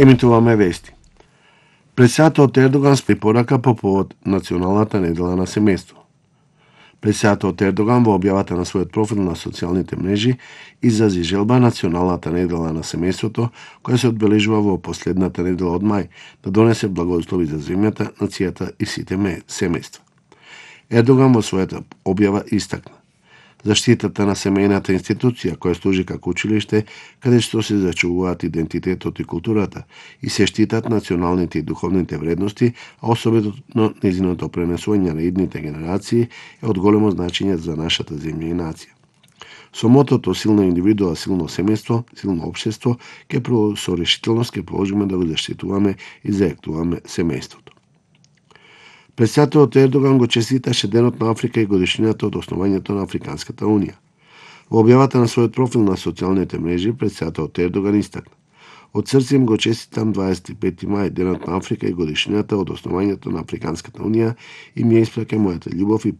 Емитуваме вести. Председателот Ердоган препорака по повод Националната недела на семејство. Председателот Ердоган во објавата на својот профил на социјалните мрежи изрази желба Националната недела на семејството, која се одбележува во последната недела од мај, да донесе благослови за земјата, нацијата и сите семејства. Ердоган во својата објава истакна заштитата на семејната институција која служи како училиште каде што се зачувуваат идентитетот и културата и се штитат националните и духовните вредности, а особено нејзиното пренесување на идните генерации е од големо значење за нашата земја и нација. Со мотото силна индивидуа, силно семејство, силно општество, со решителност ќе продолжиме да го заштитуваме и зајактуваме семејството. Председателот Ердоган го честиташе Денот на Африка и годишнината од основањето на Африканската унија. Во објавата на својот профил на социјалните мрежи, председателот Ердоган истакна: "Од срце им го честитам 25 мај, Денот на Африка и годишнината од основањето на Африканската унија и ми ја испраќам мојата љубов и